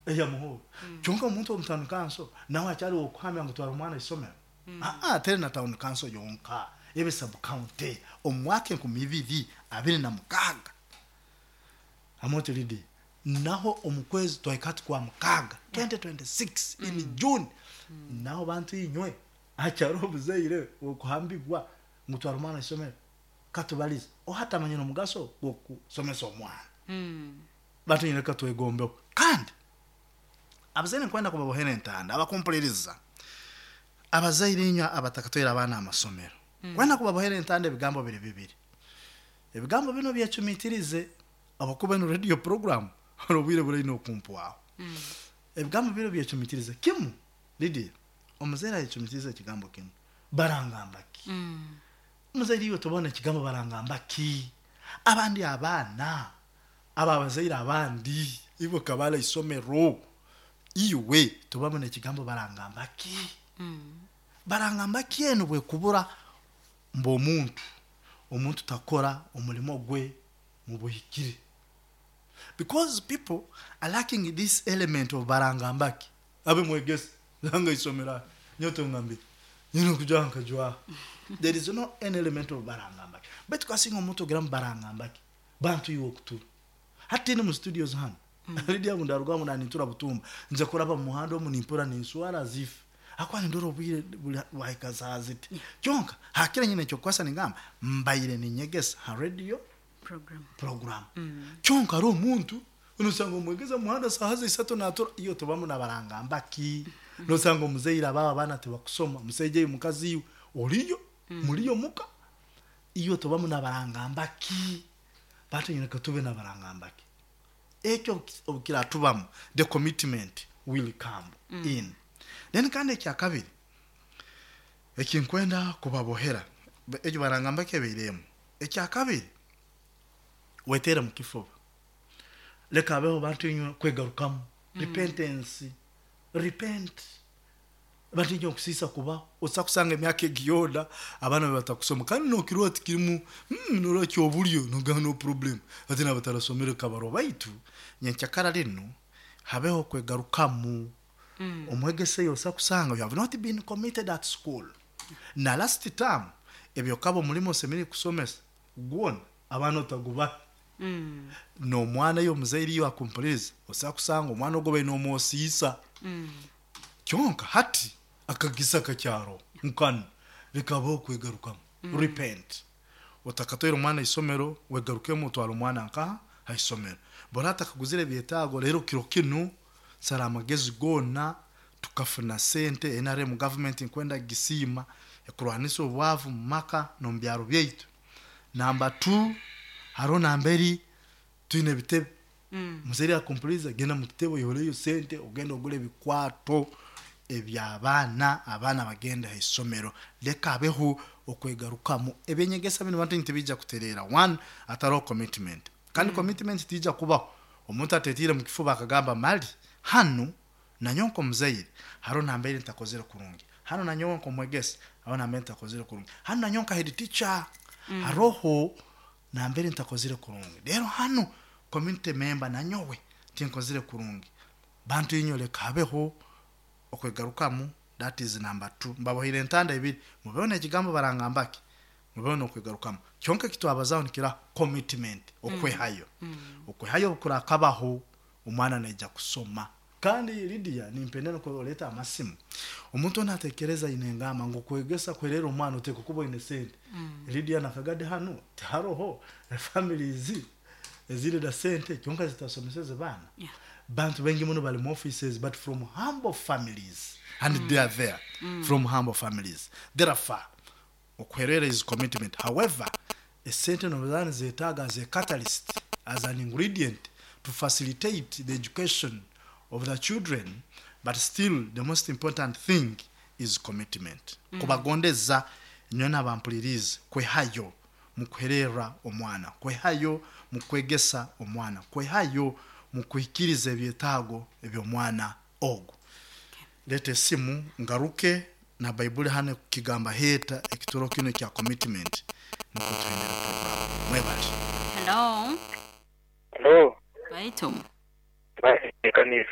Eyamuhoro. Kyonka omuntu omu town council nawe akyali wokuhamya ngu twara omwana isomero. Aa teri na town council yonka, ebe sub county omu mwaka 2026. Amooti Lydia, naho omu kwezi twahika hati kwa mukaaga 2026 in June, naho bantu inywe hakyariho obuzaire wokuhambibwa ngu twara omwana isomero. Katubalize, oha atamanyire omugaso gwokusomesa omwana? Bantu inywe leka twegombeho. Kandi abazaire nkwenda kubabohera entanda abakumpuliriza. Abazaire inywe abatakatwaire abaana aha masomero, nkwenda kubabohera entanda ebigambo biri bibiri. Ebigambo binu obyecumitirize habwokuba enu radio program haro obwire buraine okumpwaho. Ebigambo binu obyecumitirize. Kimu, Lydia, omuzaire ayecumitirize ekigambo kinu, barangamba ki? Omuzaire iwe tobona ekigambo barangamba ki? Abandi abaana aba abazaire abandi iwe okabara isomero, iwe tobabona ekigambo barangamba ki? Barangamba ki enu bwekubura mbu omuntu, omuntu takora omurimo gwe mubuhikire. Because people are lacking this element of barangamba ki? Abe mwegesa nanga isomero aha nyowe tongambire nyine okujwaha nkajwaha. There is no any element of barangamba ki. Baitu kasinga omuntu ogira ngu barangamba ki? Bantu iwe okutura. Hati tindi mu studios hanu. Lydia ngu ndarugaho ngu nanintura butumba. Nja kuraba mu muhanda omu nimpura ninswara as if ahakuba nindora obwire buri bwahika saaha ziti. Kyonka hakire nyine ekyokukwasa ningamba mbaire ninyegesa ha radio Program. program. Kyonka hariho omuntu nosanga omwegesa omu muhanda saaha za isatu natura iwe tobamu nabarangamba ki? Nosanga omuzaire abaabo abaana tibakusoma, musaija iwe mukazi iwe oriyo, muriyo muka. Iwe tobamu nabarangamba ki? Batu nyine katube nabarangamba ki? Ekyo obukiratubamu the commitment will come in. Then kandi ekyakabiri ekinkwenda kubabohera, egyo barangamba ki ebaire emu. Ekyakabiri, weteere mukifuba. Leka habeho bantu inywe kwegarukamu, repentance, repent. Bantu inywe okusiisa kubaho, osobola kusanga emyaka egi yoona abaana bawe batakusoma kandi nokirora tikirimu norora kyoburyo nogamba no problem hati nabatarasomere kabarwa baitu nyenkyakara rinu habeho okwegarukamu. Omwegesa oyo osobola kusanga you have not been committed at school na last term ebyokaba omurimo osemeriire kusomesa gwona abaana otagubahe. Nomwana iwe omuzaire iwe akumpuririza osobola kusanga omwana ogu obaire nomwosiisa. Kyonka hati akagisa kakyaro nkanu leka habeho okwegarukamu, repent. Otakatwaire omwana isomero, wegarukemu otware omwana nkaha? Ha isomero. Bora atakaguzire ebyetaago rero kiro kinu sara amagezi goona tukafuna sente, nrm government nkwenda kugisiima ekurwanisa obwavu mumaka nomubyaro byaitu. Number two, haroho namberi twine ebitebe. Muzaire yakumpuriza genda mukitebe oihureyo sente ogende ogure ebikwato eby'abaana, abaana bagende ha isomero. Leka habeho okwegarukamu. Eby'enyegesa binu bantu tibiija kutereera one hataroho commitment. Kandi commitment tiija kubaho omuntu atetiire omu kifuba akagamba mali hanu nanyowe nk'omuzaire haroho nambere ntakozere kurungi, hanu nanyowe nk'omwegesa haroho nambere ntakozere kurungi, hanu nanyowe nka head teacher haroho nambere ntakozire kurungi. Rero hanu community member nanyowe tinkozire kurungi. Bantu inywe leka habeho okwegarukamu that is number two. Mbabohire entanda ibiri, mubeho nekigambo barangamba ki, mubeho nokwegarukamu. Kyonka ekitwabazaho nikira commitment, okwehayo. Okwehayo obukurakabaho omwana naija kusoma. Kandi Lydia nimpenda nukwo olete amasimu. Omuntu ona atekereza aine engamba ngu kwegesa kwerera omwana otekwa kuba oine sente. Lydia na Kagadi hanu tiharoho families eziri na sente kyonka zitasomeseze baana. Bantu baingi muno bali mu offices but from humble families and they are there from humble families. Therefore okuherera is commitment however esente noba nizetaaga as a catalyst, as an ingredient to facilitate the education of the children but still the most important thing is commitment. Kubagondeza nyowe nabampuririize kwehayo mukuhererra omwana, kwehayo mukwegesa omwana, kwehayo mukuhikiriza ebyetaago eby'omwana ogu. Leeta esimu ngaruke na baibuli hanu ekukigamba heeta ekituro kinu ekya commitment nukwo tuhendere program. Mwebale. Hello. Hello. Baitu. Baitu ekanisa.